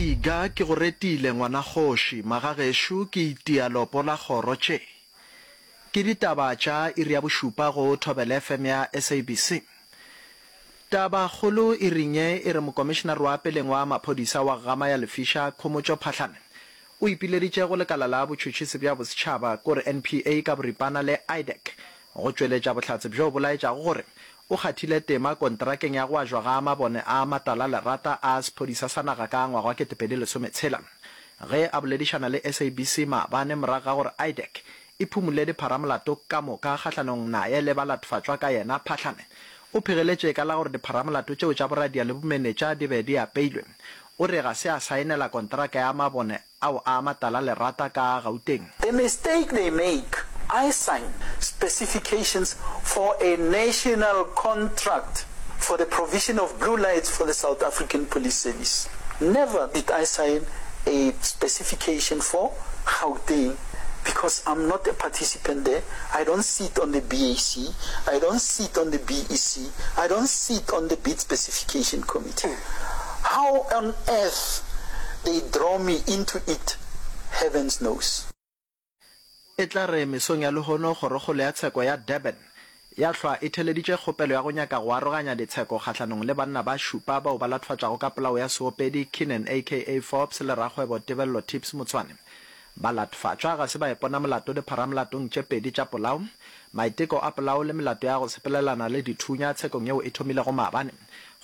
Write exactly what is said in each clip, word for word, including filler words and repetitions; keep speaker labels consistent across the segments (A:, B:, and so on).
A: Iga ke go retile ngwana kgoši, magagešo ke itia lopo la kgoro. Tše ke ditaba tša iri ya bošupa go Thobela F M ya S A B C. Tabakgolo iring ye e re mokomišenare wa peleng wa maphodisa wa Gama ya Lefiša Khomotšo Phahlane o ipileditše go lekala la botšhotšhisi bja bosetšhaba kore N P A ka boripana le IDAC go tšweletša bohlatse bjo bo laetšago gore o kgathile tema kontrakeng ya go ajwa ga mabone a matala lerata a sephodisa sa naga ka ngwaga wa ketepedi lesometshela. Ge a boledišana le S A B C maabane morago ga gore IDAC e phumule dipharamolato ka moka kgahlanong naye le balatfatšwa ka yena, Phahlane o phegeletše ka la gore dipharamolato tšeo tša boradia le bomenetša di be di apeilwe. O re ga se a saenela kontraka ya mabone ao a matala lerata ka Gauteng.
B: The mistake they make, I sign specifications for a national contract for the provision of blue lights for the South African Police Service. Never did I sign a specification for Gauteng because I'm not a participant there. I don't sit on the B A C. I don't sit on the B E C. I don't sit on the bid specification committee. How on earth they draw me into it, heavens knows.
A: E tla re mesong ya lehono kgorokgolo ya tsheko ya Durban ya hlwa e theleditše kgopelo ya go nyaka go aroganya ditsheko kgahlanong le banna ba šupa bao ba latfatšago ka polao ya seopedi Kiernan A K A Forbes le rakgwebo Tebello Tips Motshwane. Balatfatšwa ga se ba ipona molato dipharamolato tše pedi tša polao, maiteko a polao le melato ya go sepelelana le dithunya tshekong yeo e thomilego maabane.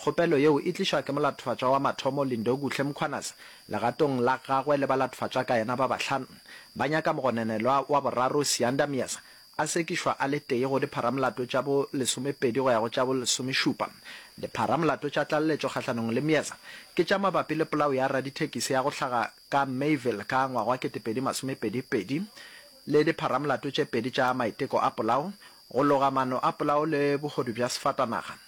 A: Kgopelo yeo e tlišwa ke molatfatšwa wa mathomo Lindokuhle Mkhwanazi legatong la gagwe le balatfatšwa ka yena ba bahlano. Ba nyaka mogononelwa wa boraro Siyanda Myeza a sekišwa a le tee go dipharamolato tša bo lesomepedi go ya go tša bo lesomešupa. Dipharamolato tša tlaleletšo kgahlanong le Myeza ke tša mabapi le polao ya radithekisi ya go hlaga ka Mayville ka ngwaga wa ketepedi masomepedi pedi le dipharamolato tše pedi tša maiteko a polao, go loga maano a polao le bohodu bja sefatanaga.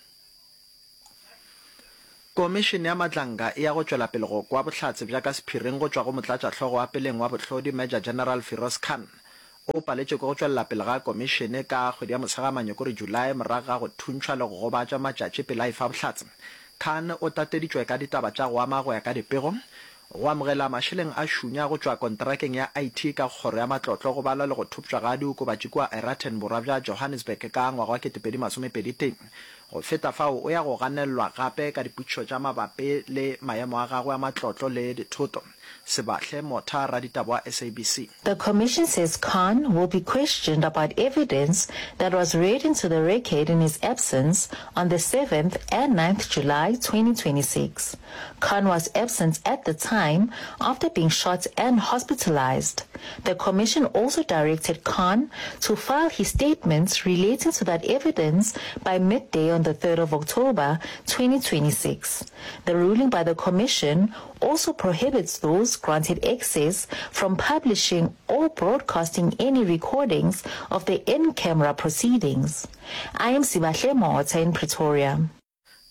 A: Komišene ya Madlanga e ya go tšwela pele go kwa bohlatse bja ka sephiring go tšwa go motlatšahlogo wa peleng wa bohlodi Major General Firoz Khan. O paletše ke go tšwelela pele ga komišene ka kgwedi ya Mosegamanye kore July morago ga go thuntšhwa le go gobatšwa matšatši pele a efa bohlatse. Khan o tateditšwe ka ditaba tša go ama go ya ka dipego go amogela mašeleng a šunya go tšwa kontrakeng ya I T ka kgoro ya matlotlo go balwa le go thopšwa ga diokobatši kua Aeroton borwa bja Johannesburg ka ngwaga wa ketepedi masomepedi tee. Go feta fao o ya go ganelelwa gape ka dipotšišo tša mabapi le maemo a gagwe a matlotlo le dithoto. Sebahle Motha, raditaba wa S A B C.
C: The commission says Khan will be questioned about evidence that was read into the record in his absence on the seventh and ninth July twenty twenty-six. Khan was absent at the time after being shot and hospitalized. The commission also directed Khan to file his statements relating to that evidence by midday on the third of October twenty twenty-six. The ruling by the commission also prohibits those granted access from publishing or broadcasting any recordings of the in-camera proceedings. I am Sibahle Motha in Pretoria.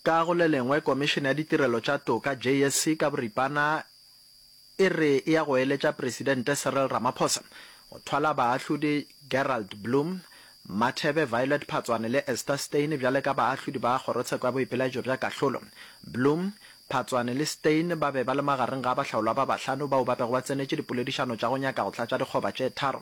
A: Ka go le lengwe, Komišene ya Ditirelo tša Toka, J S C ka boripana, e re e ya go eletša Presidente Cyril Ramaphosa go thwala baahlodi Gerald Bloom, Mathebe Violet Phatswane le Esther Steyn bjale ka baahlodi ba Kgorotsheko ya Boipelaetšo bja Kahlolo. Bloom, Phatswane le Steyn ba be ba le magareng ga bahlaolwa ba bahlano bao ba bego ba tsenetše dipoledišano tša go nyaka go tlatša dikgoba tše tharo.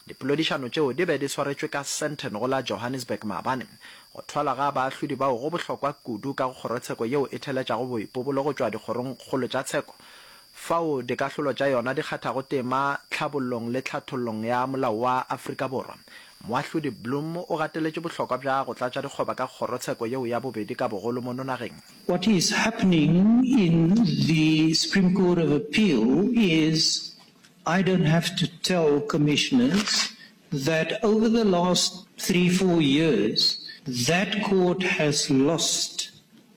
A: Dipoledišano tšeo di be di swaretšwe ka Sandton go la Johannesburg maabane. Go thwalwa ga baahlodi bao go bohlokwa kudu ka go kgorotsheko yeo e theletšago boipobolo go tšwa dikgorongkgolo tša tsheko fao dikahlolo tša yona di kgathago tema tlhabollong le tlhathollong ya molao wa Afrika Borwa. Moahlodi Bloom o gateletše bohlokwa bja go tlatša dikgoba ka kgorotsheko yeo ya bobedi ka bogolo mono nageng.
D: What is happening in the Supreme Court of Appeal is I don't have to tell commissioners that over the last three, four years, that court has lost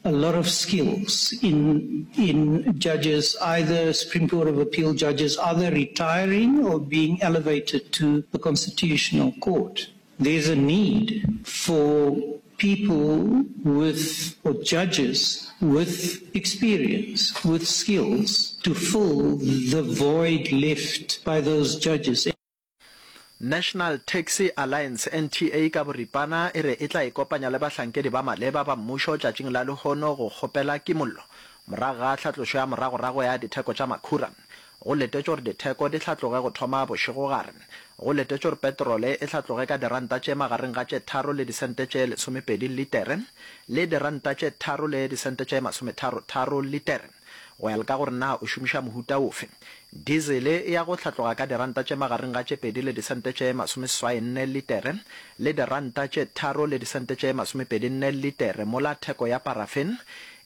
D: a lot of skills in, in judges, either Supreme Court of Appeal judges, either retiring or being elevated to the Constitutional Court. There's a need for people with, or judges with experience, with skills, to fill the void left by those judges.
A: National Taxi Alliance, N T A ka boripana, e re e tla ikopanya le bahlankedi ba maleba ba mmušo tšatšing la lehono go kgopela kimollo Morago ga tlhatlošo ya moragorago ya ditheko tša makhura, go letetšwe gore ditheko di hlatloge go thoma bošegogare. Go letetšwe gore petrole e hlatloge ka diranta tše magareng ga tše tharo le disente tše lesomepedi litere le diranta tše tharo le disente tše masometharo-tharo litere, go ya le ka gore na o šomiša mohuta ofe. Dizele e ya go hlatloga ka diranta tše magareng ga tše pedi le disente tše masomeseswai-nne litere le diranta tše tharo le disente tše masomepedi-nne litere, mola theko ya parafin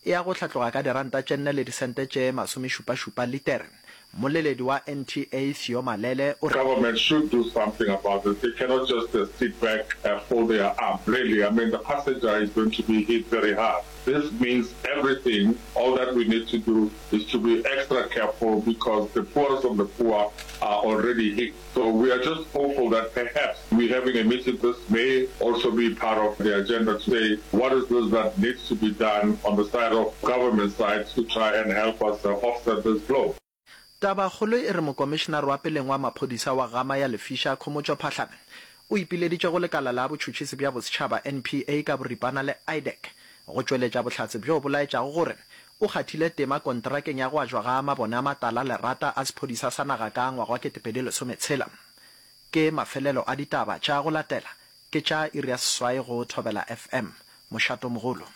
A: e ya go hlatloga ka diranta tše nne le disente tše masomešupa-šupa litere. Mmoleledi wa N T A Theo Malele o re.
E: Government should do something about this. They cannot just uh, sit back, uh, fold their arms. Really, I mean, the passenger is going to be hit very hard. This means everything. All that we need to do is to be extra careful because the poorest of the poor are already hit. So we are just hopeful that perhaps we having a meeting, this may also be part of the agenda to say what is this that needs to be done on the side of government side to try and help us uh, offset this blow.
A: Tabakgolo e re Mokomišenare wa peleng wa maphodisa wa Gama ya Lefiša, Khomotšo Phahlane, o ipileditše go lekala la botšhotšhisi bja bosetšhaba, N P A, ka boripana le IDAC go tšweletša bohlatse bjo bo laetšago gore o kgathile tema kontrakeng ya go ajwa ga mabone a matala lerata a sephodisa sa naga ka ngwaga wa ketepedi lesometshela. Ke mafelelo a ditaba tša go latela ke tša iri ya seswai go Thobela F M. Mošatomogolo.